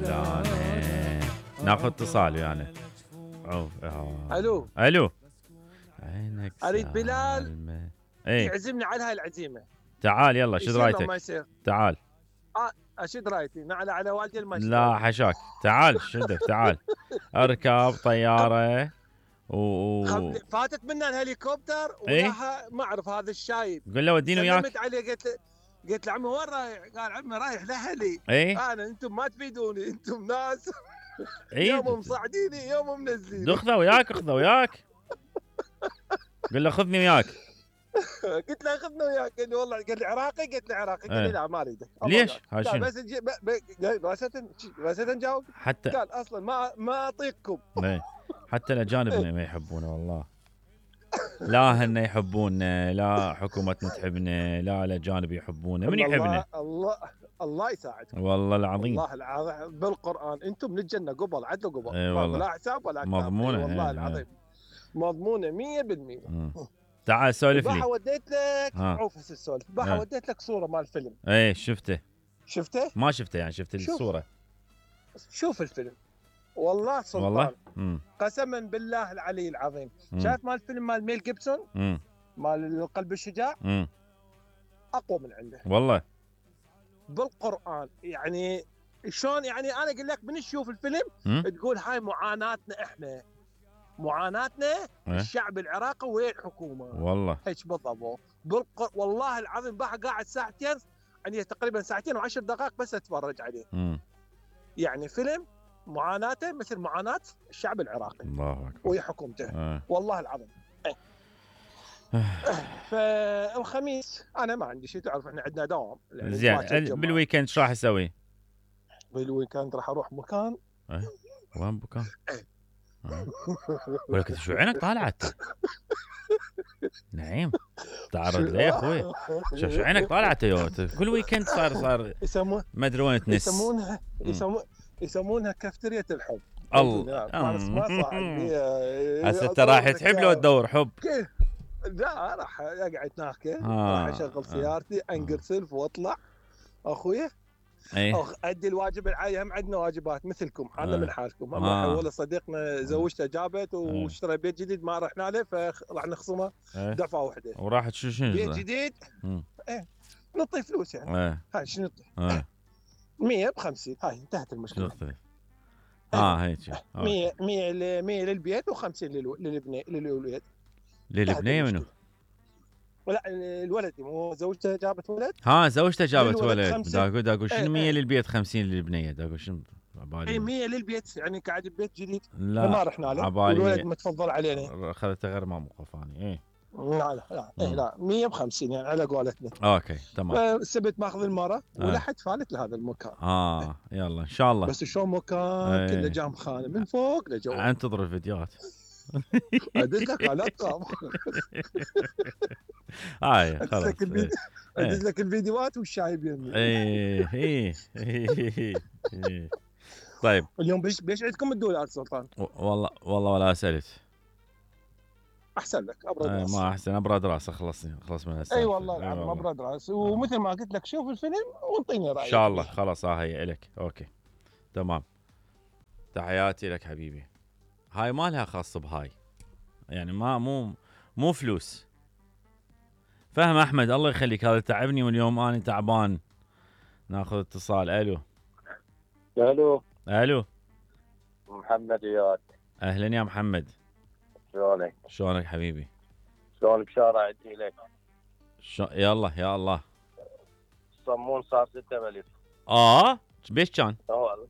فلانة. ناخذ اتصال ويانا. الو الو. عينك اريد بلال ايه يعزمني على هاي العزيمه. تعال يلا شد رايتك. ما يصير. تعال. اشد رايتي على والدي المشي. لا حشاك. تعال شدك تعال. اركب طياره فاتت منا الهليكوبتر وياها ما اعرف هذا الشايب. قل له وديني وياك. سلمت عليه قلت له عمي وين رايح؟ قال عمي رايح لاهلي. ايه انتم ما تفيدوني، انتم ناس ايه يوم مصعديني يوم منزليني. اخذه وياك قل له خذني وياك. قلت له خذنا وياك. قال لي والله، قال لي عراقي؟ قلت له عراقي. قال لي لا ما اريدك. ليش؟ هاي شنو؟ بس نجاوب. حتى قال اصلا ما اعطيكم. حتى الاجانب ما يحبونه والله. لا هن يحبونا، لا حكومتنا تحبنا، لا الاجانب يحبونا. من يحبنا؟ الله يساعدكم والله العظيم. والله العظيم بالقران انتم من الجنه قبل عدل قبل. والله. لا حساب ولا كتاب. مضمونه. والله العظيم مضمونه 100%. تعال سولف لي. وديت لك عوف السولف. وديت لك صوره مال الفيلم. ايه شفته؟ ما شفته يعني شفت الصوره. شوف الفيلم والله سلطان. والله قسما بالله العلي العظيم. شايف مال الفيلم مال ميل جيبسون مال القلب الشجاع اقوى من عنده والله بالقران. يعني شلون يعني انا اقول لك من تشوف الفيلم تقول هاي معاناتنا احنا، معاناتنا الشعب العراقي وين الحكومه. والله هيك بالضبط. والله العظيم قاعد ساعتين، يعني تقريبا ساعتين و10 دقائق بس اتفرج عليه. يعني فيلم معاناته مثل معاناه الشعب العراقي. الله اكبر. وهي حكومته. والله العظيم. فالخميس انا ما عندي شيء، تعرف احنا عندنا دوام. زين بالويكند ايش راح اسوي؟ بالويكند راح اروح مكان. وين مكان؟ ولك شو عينك طالعت؟ نعيم تعرض ليه يا اخوي؟ شو عينك طالعت كل ويكند صار ما ادري وين تنس. يسمونها كافترية الحب. الله ما صح. هسه انت رايح تحب لو تدور حب؟ لا راح اقعد هناك. راح اشغل سيارتي انقرسلف واطلع اخويا. ادي الواجب العائلي. هم عندنا واجبات مثلكم، حالنا من حالكم. والله صديقنا زوجته جابت واشترى بيت جديد ما رحنا له، فراح نخصمه دفعه واحده. وراحت شو بيت جديد. نعطي فلوس يعني. هاي شو نعطي؟ 100 ب50. هاي انتهت المشكله. هيك 100 للبيت و50 للولد. للبنيه منو؟ لا الولد، مو زوجته جابت ولد. زوجته جابت ولد. دا اقول شنو 100 للبيت 50 للبنيه. دا اقول شنو عبالي 100 للبيت يعني قاعد ببيت جديد. لا ما رحنا له. الولد متفضل علينا. اخذته غير ما موقفاني. لا 100 ب50 يعني على قولتنا. اوكي تمام. سبت ماخذ المره ولحد فالت لهذا المكان. يلا ان شاء الله. بس شلون مكان كله جام خانه من فوق لجوا. انتظر الفيديوهات. ادز لك لا تخاف. خلاص ادز لك الفيديوهات والشاي بيمي. طيب اليوم بيش عندكم الدولار سلطان؟ والله ولا سالت. احسن لك ابرد راس. ما احسن ابرد راس. خلص من هسه. اي والله العظيم ابرد راس. ومثل ما قلت لك شوف الفيلم وانطيني رايك ان شاء الله. خلاص هي الك. اوكي تمام. تحياتي لك حبيبي. هاي ما لها خاص بهاي، يعني ما مو فلوس. فهم احمد الله يخليك. هذا تعبني واليوم انا تعبان. ناخذ اتصال. الو محمد اياد. اهلا يا محمد. شلونك حبيبي؟ شلونك شارع عدي لك. يلا يا الله. الصمون صار 6 مليون. بيش كان؟ والله